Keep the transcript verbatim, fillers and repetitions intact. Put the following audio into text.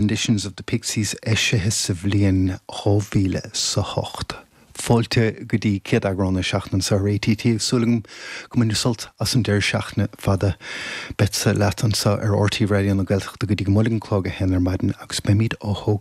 Renditions of the Pixies eisithe sa bhliain dhá mhíle sa hocht. Fáilte go dtí céad eagrán na seachtaine anseo ar ATT súil agam go mbainfidh sult as an deireadh seachtaine fada. Beadsa leat anseo ar RTÉ Raidió na Gaeltachta go dtí go mbuailfidh an clog a haon ar maidin agus beimid á thógáil